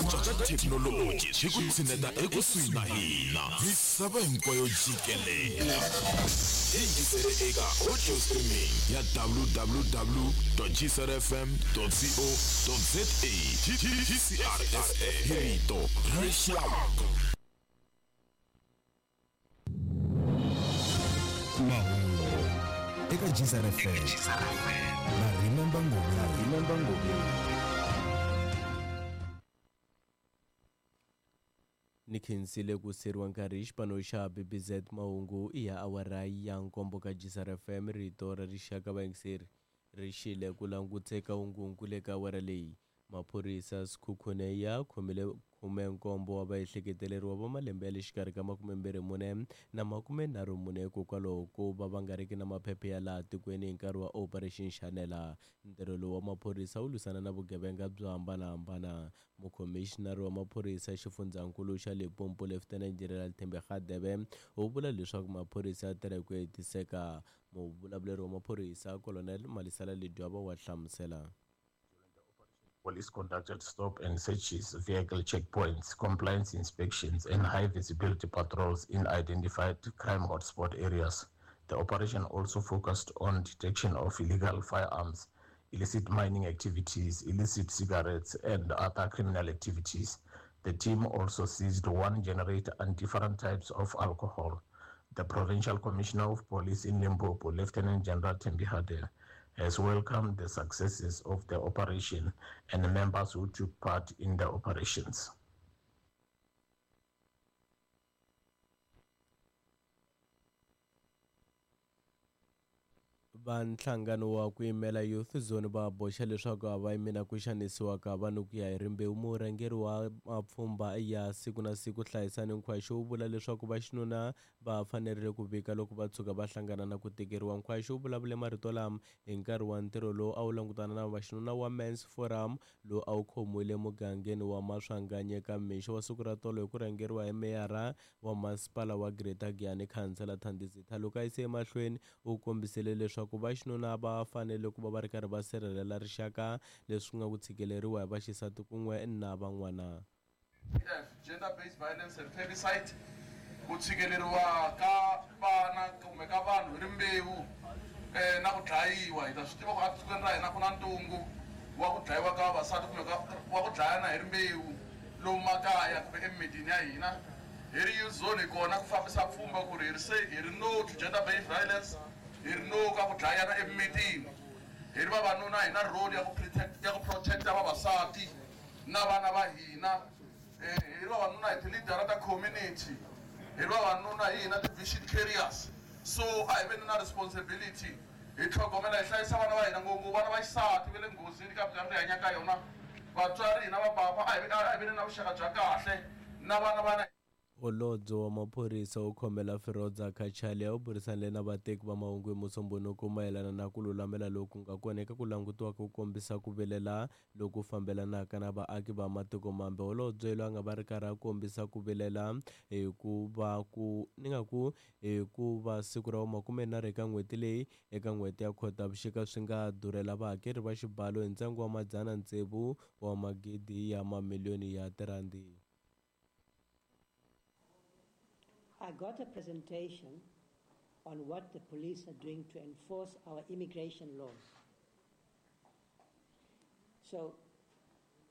cinca ka thekinoloji swi ku tshineta ekusuhi na hina misava hinkwayo jikelele hi yingisele eka audio streaming ya www gcrfm co za gcrsa hi rito ra rixaka. Mahungu eka GCRFM na Remember Ngobeni. Remember Ngobeni. Ni khensile ku seriwa nkarhi hi xipano xa BBZ mahungu i ya awara ya nkombo ka GCR FM rito ra rixaka vayingiseri ri xile ku languteka ungungu le ka awara leyi. Maphorisa Sekhukhune ya khomile 17 wa vaehleketeleriwa va malembe ya le xikarhi ka 24 na 34 hikokwalaho ko va va nga riki na maphephe ya laha tikweni hi nkarhi wa Operation Shanela. Ntirho lowu wa maphorisa wu lwisana na vugevenga byo hambanahambana. Mukhomixinari wa maphorisa exifundzhankulu xa Limpopo Lieutenant General Thembi Radebe u vula leswaku maphorisa ya tirha hi ku hetiseka. Muvulavuleri wa maphorisa Colonel Malisela Ledwaba wa hlamusela. Police conducted stop and searches, vehicle checkpoints, compliance inspections, and high visibility patrols in identified crime hotspot areas. The operation also focused on detection of illegal firearms, illicit mining activities, illicit cigarettes, and other criminal activities. The team also seized one generator and different types of alcohol. The Provincial Commissioner of Police in Limpopo, Lieutenant General Thembi Hadebe, has welcomed the successes of the operation and the members who took part in the operations. Va nhlangano wa ku yimela Youth Zone va boxa leswaku a va yimi na ku xanisiwa ka vanhu ku ya hi rimbewu. Murhangeri wa mapfhumba ya siku na siku Hlayisani Nkhwashu u vula leswaku vaxinuna va fanerile ku vika loko va tshuka va hlangana na ku tikeriwa. Nkhwashu u vulavule marito lama hi nkarhi wa ntirho lowu a wu langutana na vaxinuna wa Men's Forum lowu a wu khomiwile emugangeni wa Maswanganyi eka mixo wa siku ra tolo hi ku rhangeriwa hi meyara wa masipala wa Greater Giyani Khansela Thandi Zitha. Loko a yise emahlweni u kombisile leswaku vaxinuna va fanele ku va va ri karhi va sirhelela rixaka leswi nga ku tshikeleriwa hi vaxisati kun'we na van'wana. F, Gender Based Violence and Femicide, ku tshikeleriwa ka vana kumbe ka vanhu hi rimbewu na ku dlayiwa. Hi ta swi tiva ku etikweni ra hina ku na ntungu wa ku dlayiwa ka vavasati kumbe wa ku dlayana hi rimbewu lomu makaya kumbe emimitini ya hina. Hi ri Youth Zone hi kona ku fambisa pfhumba ku ri hi ri se hi ri no to gender based violence, hi ri no ka ku dlayana emimitini. Hi ri vavanuna hi na role ya ku protect ya ku protect-a vavasati na vana va hina. Hi ri vavanuna hi ti-leader ta community, hi ri vavanuna hi hina ti-vision carriers. So a hi veni na responsibility hi tlhogomela hi hlayisa vana va hina, ngopfungopfu vana va xisati va le nghozini ka minkarhi leyi hi hanyaka ka yona. Vatswari hina vapapa a hi veni na vuxaka bya kahle na vana va. Holobye wa maphorisa wo khomela Firoza Cachalia u burisanile na vateki va mahungu hi Musumbhunuku mayelana na ku lulamela loku nga kona eka ku langutiwa ku kombisa ku vilela loku fambelanaka na vaaki va matiko mambe. Holobye loyi a nga va ri karhi a kombisa ku vilela hi ku va ku ni nga ku hi ku va siku ra vumakumenharhu eka n'hweti leyi eka n'hweti ya Khotavuxika swi nga durhela vahakeri va xibalo hi ntsengo wa madzana tsevu wa magidi ya mamiliyoni ya tirhandi. I got a presentation on what the police are doing to enforce our immigration laws. So